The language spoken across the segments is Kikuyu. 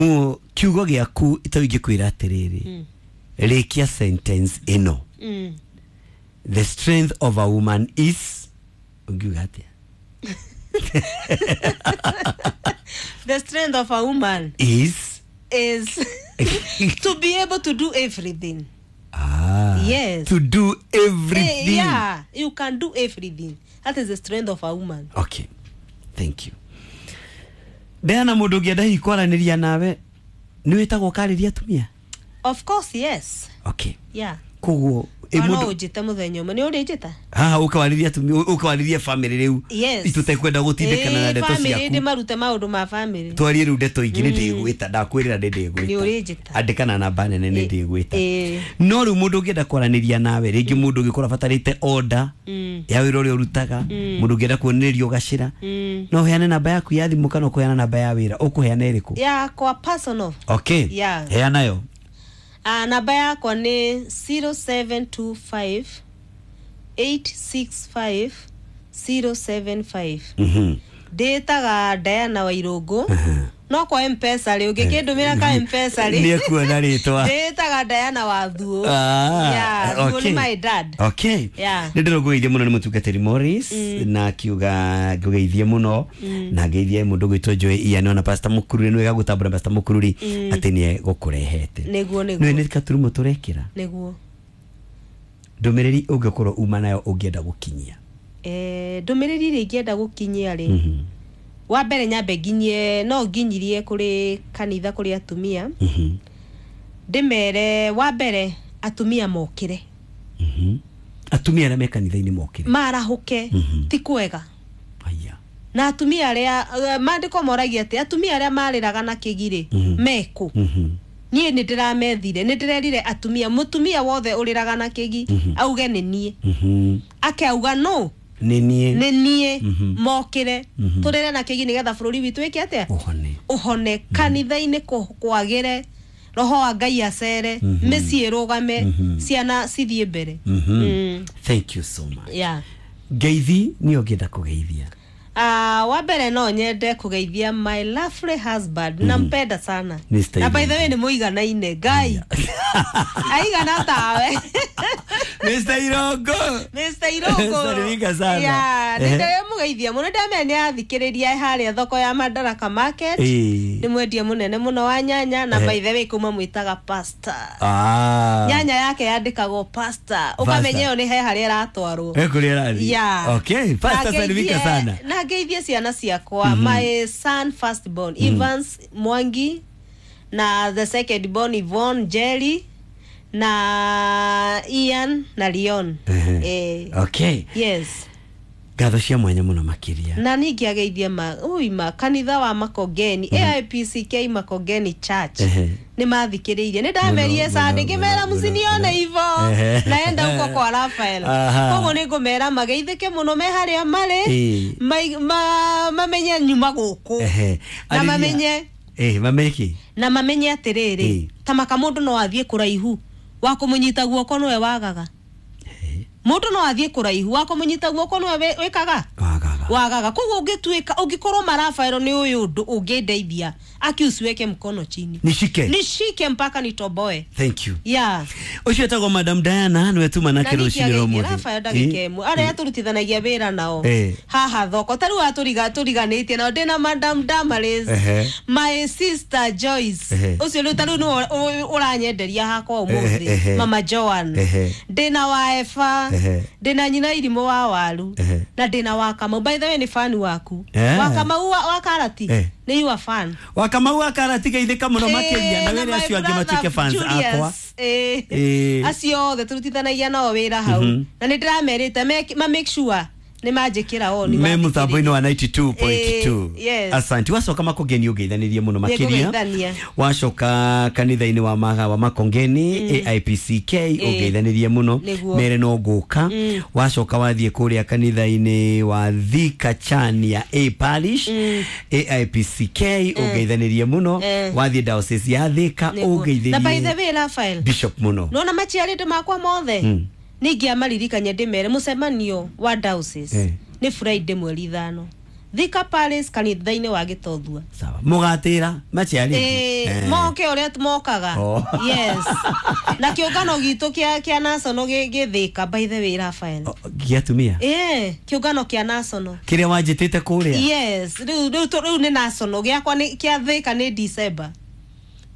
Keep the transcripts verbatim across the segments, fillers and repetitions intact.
Kiugo gĩaku ito ingĩkwĩra atĩrĩrĩ, rĩkia sentence ĩno. Mm. The strength of a woman is, ũngiuga atĩa? The strength of a woman is is to be able to do everything. Ah, Yes. to do everything. Eh, yeah, you can do everything. That is the strength of a woman. Okay, thank you. Diana, mũndũ ũngĩenda hihi kwaranĩria nawe, nĩ wĩtagwo ũkarĩria atumia? Of course, yes. Okay. Yeah. Koguo ĩ no mũndũ ũnjĩte mũthenya ũmwe, nĩ ũrĩnjĩta? Haha ũkawarĩria atumia, ũkawarĩria family rĩu. Yes. Itũtekwenda gũtindĩkana na Ĩĩ, ndeto family, ciaku. ndĩmarute maũndũ ma family. Twarie rĩu ndeto ingĩ. Nĩ ndĩgwĩta, ndakwĩrĩra nĩ ndĩgwĩta. Nĩ ũrĩnjĩta. Andĩkana namba nene, nĩ Ĩ- ndĩgwĩta. Ĩ. No rĩu mũndũ ũngĩenda kwaranĩria nawe rĩngĩ, mũndũ ũngĩkorwo abatarĩte order Mm. ya wĩra ũrĩa ũrutaga, mũndũ ũngĩenda kuonererio gacĩra, Mm. no ũheane namba yaku ya thimũ kana ũkũheana namba ya wĩra? Ũkũheana ĩrĩkũ? Yakwa personal. Okay. Yeah. Heana yo. Ah, namba yakwa nĩ zero seven two five eight six five zero seven five. Mhm. Ndĩtaga Diana Wairũngũ, no kwa Mpesa rĩ, ũngĩkĩndũmĩra ka Mpesa rĩ, nĩ ekuona rĩtwa. Ndĩtaga Diana wa Thuo. Ah, Yeah, Thuo okay. nĩ my dad. Okay. Yeah. Nĩ ndĩrũngũgeithie mũno, nĩ mũtungatĩri Morris na akiuga ngũgeithie mũno na ngeithie mũndũ gwĩtwo Joy Ian, ona Pastor Mũkururi. Nĩ wega gũtambũra Pastor Mũkururi atĩ nĩe gũkũrehete. Nĩguo. Nĩ Nĩguo. Nĩ katurumo tũrekĩra. Nĩguo. Ndũmĩrĩri ũngĩkorwo uma nayo ũngĩenda gũkinyia? Eh, ndũmĩrĩri ĩrĩa ingĩenda gũkinyia rĩ, Mhm. wa mbere nyambe nginyie, no nginyirie kũrĩ kanitha, kũrĩ atumia, Mhm. ndĩmere wa mbere atumia mokĩre. Mhm. Atumia arĩa me kanitha-inĩ mokĩre. Marahũke. Mhm. Ti kwega. Aya. Na atumia arĩa eh, maandĩko moragia atĩ atumia arĩa marĩraga na kĩgirĩ Mhm. mekũ? Mhm. Niĩ nĩ ndĩramethire, nĩ ndĩrerire atumia, mũtumia wothe ũrĩraga na kĩgi auge nĩ niĩ. Mhm. Akauga no nĩ niĩ. Nĩ niĩ. Mhm. Mokĩre, Mhm. tũrĩre na kĩgi nĩgetha bũrũri witũ wĩke atĩa? Ũhone. Ũhone, kanitha-inĩ kũ- kwagĩre, roho wa Ngai acere, Mhm. mĩciĩ ĩrũgame, Mhm. ciana cithiĩ mbere. Mhm. Mm. Thank you so much. Yeah. Ngeithi nĩ ũngĩenda kũgeithia? Uh, wa mbere no nyende kũgeithia my lovely husband. Mm. Nampenda sana. Mister Na by Irungu. the way nĩ mũiganaine, Ngai aigana tawe. Mister Irongo. Mister Irungu. Salimika sana. Yeah, Ehe. nĩ ndĩramũgeithia mũno, ndamenya nĩ athikĩrĩria harĩa thoko ya Madaraka Market. Ĩĩ. Nĩ mwendia mũnene mũno wa nyanya, na Ehe. by the way kuma mwĩtaga pastor. Ah. Nyanya yake yandĩkagwo pastor, ũkamenya ĩyo nĩ he harĩa ĩratwarwo. Eh, kũrĩa ĩrathiĩ. Yeah. Okay, pastor, Na salimika ngeithie- sana. Na ngeithie ciana ciakwa, my son first born Evans Mwangi, na the second born Yvonne Jerry, na Ian na Leon. Ehe. Eh, Okay. yes. Ngatho cia mwanya mũno makĩria. Na ningĩ ageithie ma ui ma kanitha wa Makongeni, A I P C K Makongeni Church. Ehe. Nĩ mathikĩrĩirie, nĩ ndamerie Mũno, Sunday, mũno, ngĩmera mũno, mũcinione mũno. ivo Ehe. naenda huko kwa Rafael. Aha. Koguo nĩ ngũmera mageithĩke mũno me harĩa marĩ. Ĩĩ. Mai- ma- mamenye nyuma gũkũ. Ehe. Na Arĩria- mamenye Eh, mamenye kĩ? Na mamenye atĩrĩrĩ, Ĩĩ. ta maka mũndũ no athiĩ kũraihu, wa kũmũnyita guoko nĩwe wagaga. Mũndũ no athiĩ kũraihu, wa kũmũnyita guoko nĩwe wĩ- wĩkaga Wagaga. Wagaga. Koguo ũngĩtuĩka ũngĩkorwo marabaĩro nĩ ũyũ ũndũ ũngĩndeithia, aki usiweke mkono chini. Nishike. Nishike mpaka nitoboe. Thank you. Yeah. Ũcio etagwo Madam Diana, nĩwe tuma nake Na rũcinĩ rwa ningĩ ũmũthĩ. Rafael ndagĩka ĩmwe, arĩa tũrutithanagia wĩra nao Eh. haha thoko, ta rĩu atũriga tũriganĩtie nao, ndĩna Madam Damaris, Ehe. my sister Joyce, Ehe. ũcio rĩu ta rĩu nĩwe ũ- ũranyenderia hakwa Ehe, ũmũthĩ, ehe. Mama Joan, Ehe. ndĩna wa Eva, Ehe. ndĩna nyina irimũ wa waru, Ehe. na ndĩna wa Kamau. By the way nĩ fan waku. Eh. Wa Kamau wa, wa karati. Eh. Nĩ you are fan. Wa Kamau wa karati, geithĩka mũno makĩria, na Eh, wĩre my acio angĩ brother matuĩke fans Julius, akwa. eh. Eh. Acio othe tũrutithanagia nao wĩra hau, na nĩ ndĩramerĩte make- ma make sure nĩ manjĩkĩra oni. Me mũtambo-inĩ wa ninety-two point two. Eh, yes. Asante. Wacoka Makongeni ũngeithanĩrie mũno makĩria. Nĩngũgeithania. Wacoka kanitha-inĩ wa maga wa Makongeni A I P C K, ũngeithanĩrie mũno. Nĩguo. Mere no ngũka. Wacoka wathiĩ kũrĩa kanitha-inĩ wa Thika Chania A Parish A I P C K, ũngeithanĩrie mũno. Eh. Wathiĩ diocese ya Thika, Na by the ũngeithĩrie way Raphael, bishop mũno. nona maciarĩte makwa mothe, Mm. ningĩamaririkania ndĩmere mũcemanio wa diocese Eh. nĩ Friday mweri ithano Thika Palace kanitha-inĩ wa Gĩtothua. Sawa, mũgatĩra maciari. Eh, moke ũrĩa mokaga. Oh. Yes, na kĩũngano gitũ kĩa kĩa national gĩ gĩ Thika, by the way, Raphael. Gĩa atumia? Eh, kĩũngano kĩa national. Kĩrĩa wanjĩtĩte kũrĩa? Yes, rĩu rĩu tu- rĩu nĩ national gĩakwa nĩ kĩa Thika nĩ December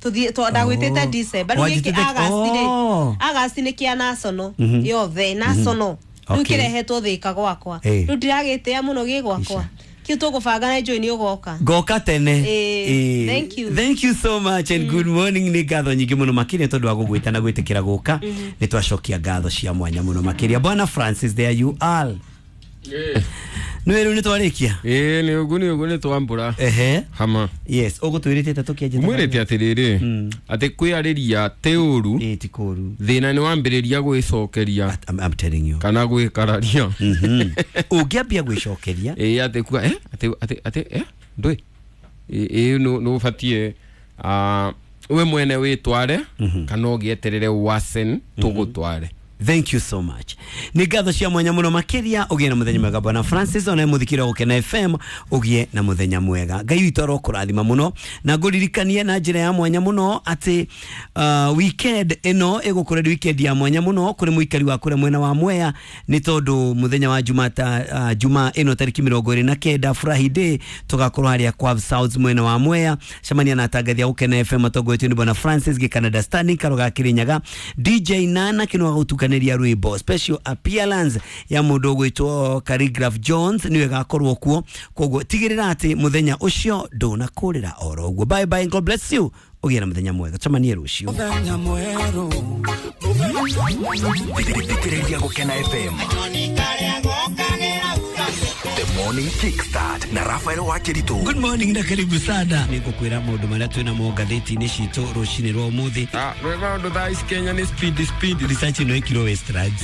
tuthiĩ twa ndagwĩtĩte Oh. December. Rĩu gĩkĩ Wanjĩtĩte- August rĩ, Oh. August nĩ kĩa national Mhm. yothe national. Rĩu Okay. kĩrehetwo Thika gwakwa. Eh. Rĩu ndiragĩtĩa mũno gĩ gwakwa kĩu tũgũbanga na njũĩ nĩ ũgoka. Ngoka tene. Eh, Eh, thank you. Thank you so much and good morning. Nĩ ngatho nyingĩ mũno makĩria tondũ wa gũgwĩta na gwĩtĩkĩra gũka. Nĩ twacokia ngatho cia mwanya mũno makĩria. Bwana Francis, there you are. Nĩ rĩu nĩ twarĩkia. Ĩĩ, nĩ ũguo, nĩ ũguo, nĩ twambũra. Ehe. Hama. Yes, ũgũtwĩrĩte tũkĩanjia. Mwĩrĩte atĩrĩrĩ atĩ kwĩarĩria tĩ ũru. Ĩĩ, ti kũru. Thĩna nĩ wambĩrĩria gwĩcokeria I'm, I'm telling you. kana gwĩkararia. Mhm. Ũngĩambia gwĩcokeria. Ĩĩ, atĩ kuga eh atĩ atĩ atĩ eh ndũĩ ĩĩ nũ nũ ũbatiĩ ah, we mwene wĩtware kana ũgĩeterere wasen tũgũtware. Thank you so much. Nĩ ngatho cia mwanya mũno makĩria. Ũgĩe na mũthenya mwega, Bwana Francis. Ona mũthikĩra Gũkena F M, ũgĩe na mũthenya mwega. Ngai witũ arokũrathima mũno na ngũririkanie na njĩra ya mwanya mũno atĩ uh, weekend ĩno ĩgũkorwo ĩrĩ weekend ya mwanya mũno kũrĩ mũikari wa kũrĩa mwena wa Mwea, nĩ tondũ mũthenya wa Jumata, uh, Juma ĩno tarĩki mĩrongo ĩrĩ na kenda, Furahi Day, tũgakorwo harĩa kwa South mwena wa Mwea. Cemania na atangathi a Gũkena F M matongoretio nĩ Bwana Francis Gĩkanada, Standing Karoga Kĩrĩnyaga, D J Nana Kĩnwa gũtukanĩria rwĩmbo. Special appearance ya mũndũ ũgwĩtwo Khaligraph Jones nĩwe ĩgakorwo kuo, koguo tigĩrĩra atĩ mũthenya ũcio ndũnakũrĩra oro ũguo. Bye bye, God bless you. Ũgĩe na mũthenya mwega, tũcemanie rũciũ. Thikĩrĩria Gũkena F M. The Morning Kickstart na Rafael Wakiritu. Good morning na karibu sana. Nĩ ngũkwĩra maũndũ marĩa twĩ namo ngathĩti-inĩ citũ rũcinĩ rwa ũmũthĩ. Ah, rwĩ maũndũ thaa ici Kenya nĩ speed speed. Research ĩno ĩkirwo Westlands.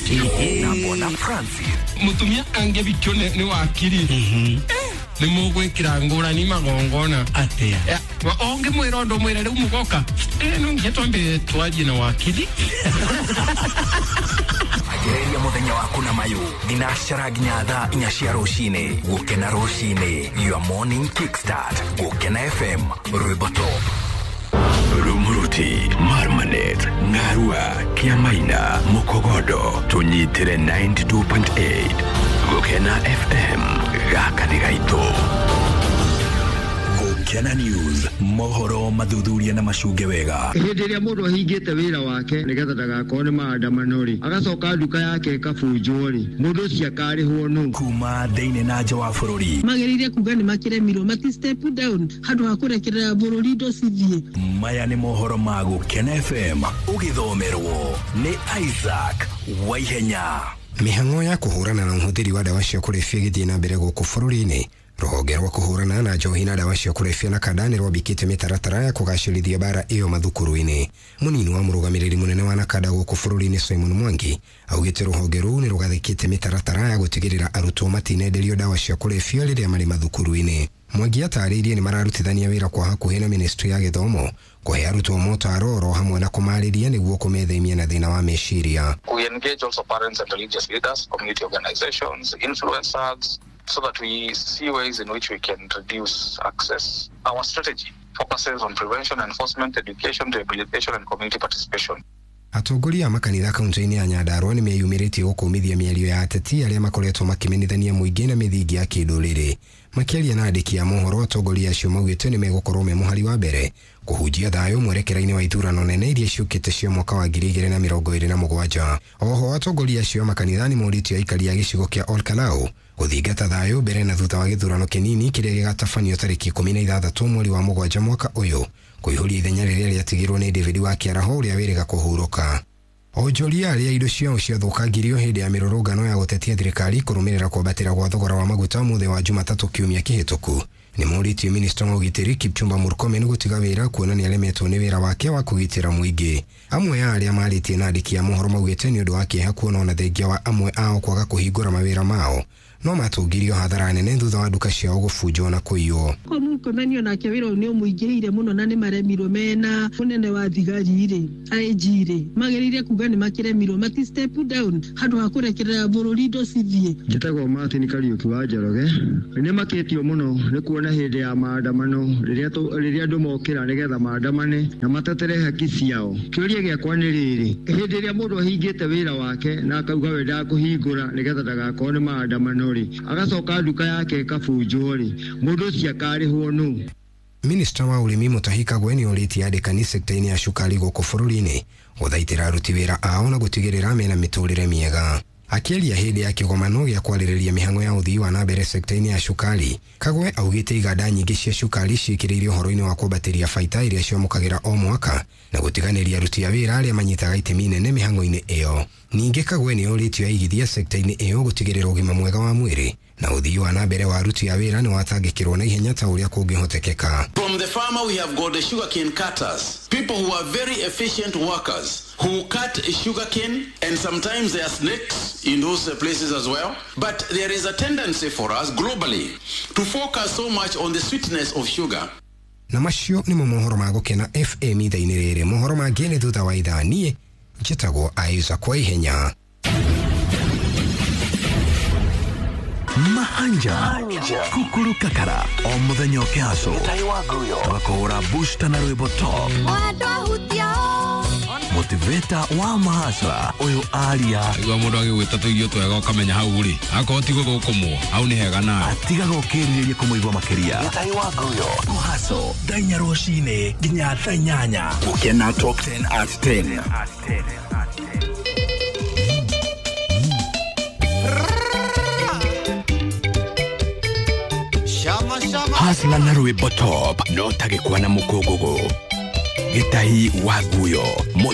Na Bwana Francis. Mũtumia angĩbikio nĩ nĩ wakiri nĩ mũgwĩkĩra ngũrani magongona. Atĩa? Eh, wa- ũngĩmwĩra ũndũ mwĩre rĩu mũgoka. Eh, no nginya twambe twarie na wakiri. Anjĩrĩria mũthenya waku na mayũ thinacara nginya thaa inya cia rũcinĩ. Gũkena rũcinĩ, your morning kickstart. Gũkena F M, rwĩmbo top. Rumuruti, Marmanet, Ngarua, Kiamaina, Mukogodo, tunyitire ninety-two point eight. Gukena F M, gaka nĩ gaitũ. Gũkena News, mohoro mathuthuria na macunge wega. Hĩndĩ ĩrĩa mũndũ ahingĩte wĩra wake nĩgetha ndagakorwo nĩ maandamano rĩ, agacoka nduka yake ĩkabunjwo rĩ, mũndũ ũcio akarĩhwo nũ? Kuma thĩinĩ na nja wa bũrũri. Magĩrĩire kuga nĩ makĩremirwo mati step down handũ ha kũrekerera bũrũri indo cithiĩ. Maya nĩ mohoro ma Gũkena F M, ũgĩthomerwo nĩ Isaac Waihenya. Mĩhang'o ya kũhũrana na ũhũthĩri wa ndawa cia kũrebia ĩgĩthiĩ na mbere gũkũ bũrũri-inĩ. Rũhonge rwa kũhũrana na njohi na ndawa cia kũrebia na kanda nĩ rwambĩkĩte mĩtaratara ya kũgacĩrithia mbara ĩyo mathukuru-inĩ. Mũnini wa mũrũgamĩrĩri mũnene wa Nakanda gũkũ bũrũri-inĩ, Simon Mwangi, augĩte rũhonge rũu nĩ rũgathĩkĩte mĩtaratara ya gũtigĩrĩra arutwo matinenderio ndawa cia kũrebia rĩrĩa marĩ mathukuru-inĩ. Mwangi atarĩirie nĩ mararutithania wĩra kwa hakuhĩ na ministry ya gĩthomo kũhe arutwo motaro oro hamwe na kũmarĩria nĩguo kũmethemia na thĩna wa meciria. We engage also parents and religious leaders, community organizations, influencers, so that we see ways in which we can reduce access. Our strategy focuses on prevention, enforcement, education, rehabilitation, and community participation. Atongoria a makanitha kaunti-inĩ ya Nyandarua nĩ meyumĩrĩtie gũkũmithia mĩario ya ateti arĩa makoretwo makĩmenithania mũingĩ na mĩthingi ya kĩndũrĩrĩ. Makĩaria na andĩki a mohoro, atongoria acio maugĩte nĩ megũkorwo me mũhari wa mbere kũhunjia thayũ mwerekera-inĩ wa ithurano nene iria ciũkĩte cia mwaka wa ngiri igĩrĩ na mĩrongo ĩrĩ na mũgwanja. Oho atongoria acio a makanitha nĩ morĩtie aikari a gĩcigo kĩa Olkalau gũthingata thayũ mbere na thutha wa gĩthurano kĩnini kĩrĩa gĩgatabanio tarĩki ikũmi na ithathatũ mweri wa mũgwanja mwaka ũyũ, kũihũria ithenya rĩrĩa rĩatigirwo nĩ David wa Kĩaraho ũrĩa wĩrĩga kũhurũka. Onjoria arĩa indo ciao ciathũkangirio hĩndĩ ya mĩrũrũngano ya gũtetia thirikari kũrũmĩrĩra kwambatĩra gwa thogora wa maguta mũthĩ wa Jumatatũ kiumia kĩhĩtũku nĩ morĩtie minista wa ũgitĩri Kipchumba Murkomen gũtiga wĩra, kuona nĩ aremetwo nĩ wĩra wake wa kũgitĩra mũingĩ. Amwe a arĩa marĩtie na andĩki a mohoro maugĩte nĩ ũndũ wa kĩeha kuona ona thengia wa amwe ao kwaga kũhingũra mawĩra mao, no matũngirio hathara nene thutha wa nduka ciao gũbunjwo na kũiywo. Ko Murkomen onake wĩra ũyũ nĩ ũmũingĩrĩire mũno na nĩ maremirwo mena mũnene wa thigari rĩ I G rĩ magĩrĩire kuga nĩ makĩremirwo mati step down handũ ha kũrekerera bũrũri indo cithiĩ. Njĩtagwo Martin Kariuki wa Njoroge. Nĩ makĩtio mũno nĩ kuona hĩndĩ ya maandamano rĩrĩa rĩrĩa andũ mokĩra nĩgetha maandamane na matetere haki ciao. Kĩũria gĩakwa nĩ rĩrĩ, hĩndĩ ĩrĩa mũndũ ahingĩte wĩra wake na akauga we ndakũhingũra nĩgetha ndagakorwo nĩ maandamano rĩ, agacoka nduka yake ĩkabunjwo rĩ, mũndũ ũcio akarĩhwo nũ? Minista wa ũrĩmi Mutahi Kagwe nĩ orĩtie andĩkani sekta-inĩ ya cukari gũkũ bũrũri-inĩ gũthaitĩra aruti wĩra ao na gũtigĩrĩra mena mĩtũrĩre mĩega. Akĩaria hĩndĩ ya kĩgomano gĩa kwarĩrĩria mĩhang'o ya ũthii wa na mbere sekta-inĩ ya cukari, Kagwe augĩte iganda nyingĩ cia cukari ciĩkĩrĩire ũhoro-inĩ wa kwambatĩria baita iria ciamũkagĩra o mwaka na gũtiganĩria aruti a wĩra arĩa manyitaga itemi inene mĩhang'o-inĩ ĩyo. Ningĩ Kagwe nĩ orĩtio aigithia sekta-inĩ ĩyo gũtigĩrĩra ũgima mwega wa mwĩrĩ na ũthii wa na mbere wa aruti a wĩra nĩ watangĩkĩrwo na ihenya ta ũrĩa kũngĩhotekeka. From the farmer we have got the sugarcane cutters, people who are very efficient workers who cut sugarcane, and sometimes there are snakes in those places as well. But there is a tendency for us globally to focus so much on the sweetness of sugar. Na macio nĩmo mohoro ma Gũkena F M ithaa-inĩ rĩrĩ. Mohoro mangĩ nĩ thutha wa ithaa. Niĩ njĩtagwo Isaac kwa ihenya. Mahanja Kukuru Kakara o muthenya ũkĩhaco tũgakũhũra booster na rwĩmbo top motivator wa mahasra ũyũ aria igua mũndũ agĩgwĩta tũirio twega ũkamenya hau rĩ akorwo ti gũthũkũmwo hau nĩ hega nawe atigaga ũkĩrirĩria kũmũigua makĩria. Kũhaco thaa inya rũcinĩ nginya thaa inyanya. Gũkena Top ten at ten. Hasla na rwĩmbo top no tagĩkwa na mũkũngũgũ. Gĩtahi wa nguyo.